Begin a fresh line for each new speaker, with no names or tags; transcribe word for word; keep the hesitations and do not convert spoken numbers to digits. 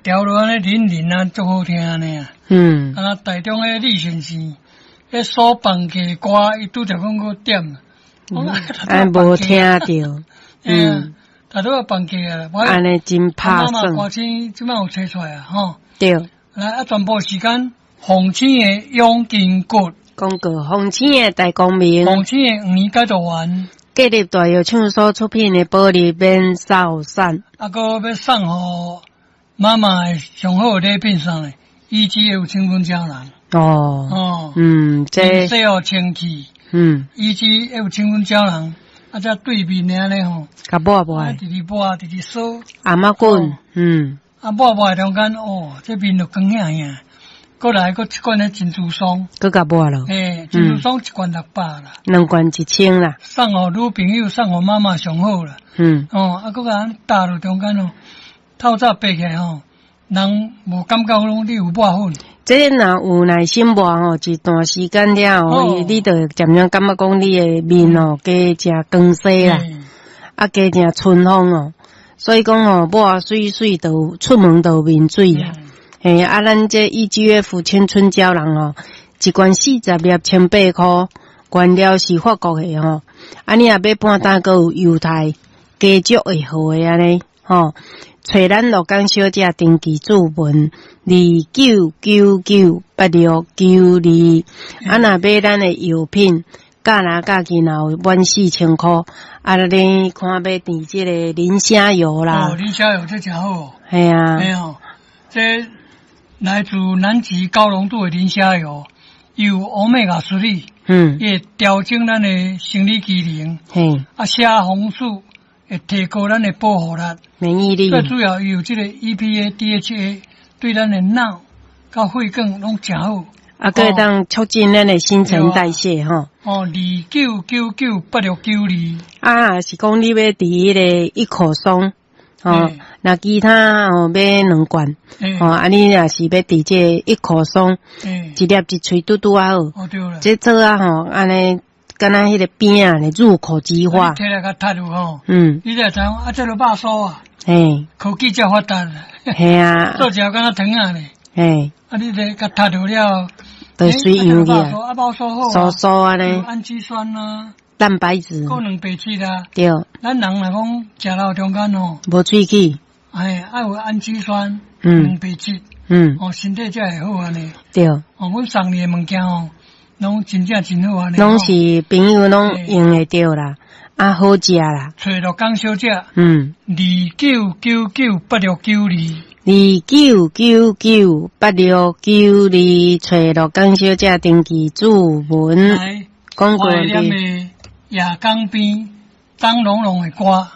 調落按呢淋淋啊，足好聽按呢啊。
嗯，
啊，台中的李先生，彼所放假歌，伊拄著講閣點，我
啊，無聽著，
嗯，大拄仔放假啊，
按呢真拍算。
歌星這擺有揣出來啊，吼。
對。
來啊，全部時間，鳳星的養筋骨，
廣告，鳳星的大光明，
鳳星的黃解毒丸，
建立大藥廠所出品的保利免掃散，
啊，閣欲送予媽媽的上好的禮品啥呢？E G F 青春膠囊。
哦。
哦。
嗯，這。
洗予清氣。
嗯。
E G F 青春膠囊，啊，這對面的按呢吼。
共抹抹。
直直抹，直直掃。
頷仔滾，嗯。
啊，抹抹中間，哦，這面就光顯顯。閣來閣一罐的珍珠霜。
閣共抹囉。
嘿，珍珠霜一罐六百啦。
兩罐一千啦。
送予女朋友，送予媽媽上好啦。
嗯。
哦，啊，閣共搭落中間哦，透早爬起來吼，人無感覺講你有抹粉。
這若有耐心抹吼，一段時間了後，你就漸漸感覺講你的面哦，加誠光鮮啦，啊，加誠春風哦。所以講吼，抹媠媠就出門就面水啦。嘿，啊，咱這 E G F 青春膠囊哦，一罐四十粒，千八箍，原料是法國的吼。啊，你若買半擔，閣有猶太加足會好的按呢，吼。揣咱鹿港小姐登記注文二九九九八六九二，啊，若買咱的藥品，價若價錢若有滿四千箍，啊，你看欲佇這个磷蝦油啦。
哦，磷蝦油這誠好。
嘿啊。
嘿哦，這來自南極高濃度的磷蝦油，有 Omega three，
嗯，
會調整咱的生理機能，
嘿，
啊，蝦紅素會提高咱的保護力，
免疫力。
最主要有這個 E P A、D H A，對咱的腦佮血管攏誠好。
啊，閣會當促進咱的新陳代謝吼。
哦，二九九九八六九二。
啊，是講你欲佇彼个一口霜，吼，若其他哦買兩罐，吼，啊，你若是欲佇這一口霜，一粒一喙拄拄仔好。
哦，對啦。
這做啊吼，按呢，敢若彼个餅仔咧，入口即化。
摕來共讀落吼，
嗯，
你才知影啊，這个肉酥啊，
嘿，
科技遮發達。
嘿啊。
做食敢若糖仔咧。
嘿。
啊，你這共讀落了，
就水溶去啊。
啊，肉酥好。
酥酥按呢。
氨基酸啊。
蛋白質。
閣蛋白質啦。
對。
咱人若講食到中間吼，
無喙齒。
哎，愛有氨基酸，
嗯，
蛋白質，
嗯，
哦，身體才會好按呢。
對。
哦，阮送你的物件哦，攏真正真好按呢。
攏是朋友攏用會著啦，啊，好食啦。
揣鹿港小姐，
嗯，
二九九九八六九二，
二九九九八六九二，揣鹿港小姐登記注文。
來，
廣告
懷念的夜港邊張龍龍的歌。